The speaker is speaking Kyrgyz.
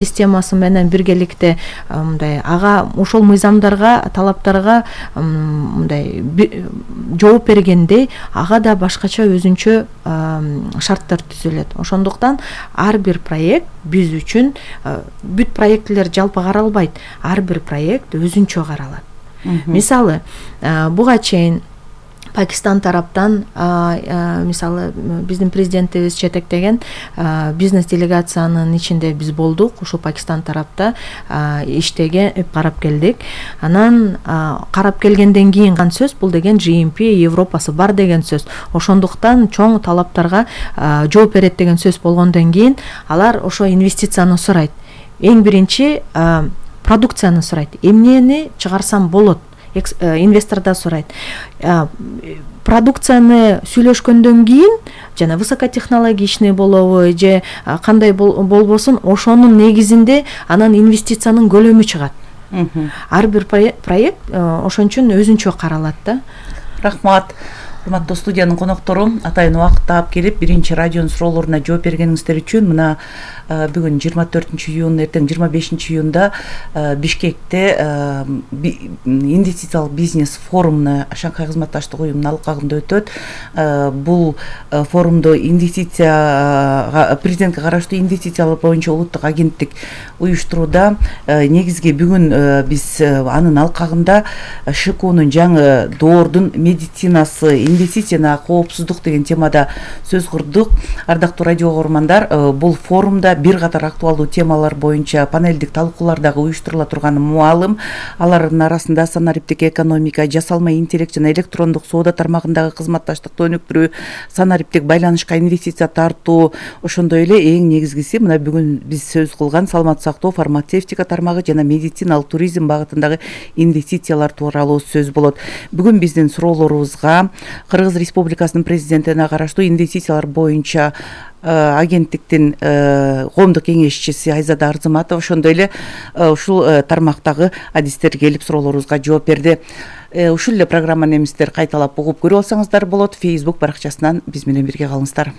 системасы менен биргеликте мындай ага ошол мыйзамдарга, талаптарга мындай жооп бергенде ага да башкача өзүнчө шарттар түзүлөт. Ошондуктан ар бир проект биз үчүн бүт проекттер жалпы каралбайт. Ар бир проект өзүнчө каралат. Мисалы, буга чейин Пакистан тараптан мисалы биздин президентибиз жетектеген бизнес делегациянын ичинде биз болдук. Ушул Пакистан тарапта иштеген, карап келдик. Анан карап келгенден кийин сөз бул деген GMP Европасы бар деген сөз. Ошондуктан чоң талаптарга жооп берет деген сөз болгондон кийин алар ошо инвестицияны сурайт. Эң биринчи продукцияны сурайт. Эмнени чыгарсам болот? Инвестор да сурайт. Продукцияны сүйлөшкөндөн кийин жана высокотехнологичный болобу же кандай болбосун ошонун негизинде анан инвестициянын көлөмү чыгат. Ар бир проект ошон үчүн өзүнчө каралат да. Рахмат. Урматтуу студиянын коноктору, атайын убакыт таап келип биринчи радионун суроолоруна жооп бергениңиздер үчүн мына бүгүн 24-июн, эртең 25-июнда Бишкекте инвестициялык бизнес форумуна Шанхай кызматташтык уюмунун алкагында өтөт. Бул форумду президентке караштуу инвестициялар боюнча улуттук агенттик уюштурууда. Негизги бүгүн биз анын алкагында ШКУнун жаңы доордун медицинасы, инвестицияна коопсуздук деген темада сөз курдук. Ардактуу радио көрөрмандар, бул форумда бир катар актуалдуу темалар боюнча панелдик талкуулар дагы уюштурула турганы маалым. Алардын арасында санариптик экономика, жасалма интеллект жана электрондук соода тармагындагы кызматташтыкты өнүктүрүү, санариптик байланышка инвестиция тартуу, ошондой эле эң негизгиси мына бүгүн биз сөз кылган саламаттык сактоо, фармацевтика тармагы жана медициналык туризм багытындагы инвестициялар тууралуу сөз болот. Бүгүн биздин суроолорубузга Кыргыз Республикасынын президентине караштуу инвестициялар боюнча агенттиктин коомдук кеңешчиси Айзада Арзыматова, ошондой эле ушул тармактагы адистер келип суроолорубузга жооп берди. Ушул эле программаны эмистер кайталап угуп көрүп алсаңыздар болот. Facebook баракчасынан биз менен бирге калыңыздар.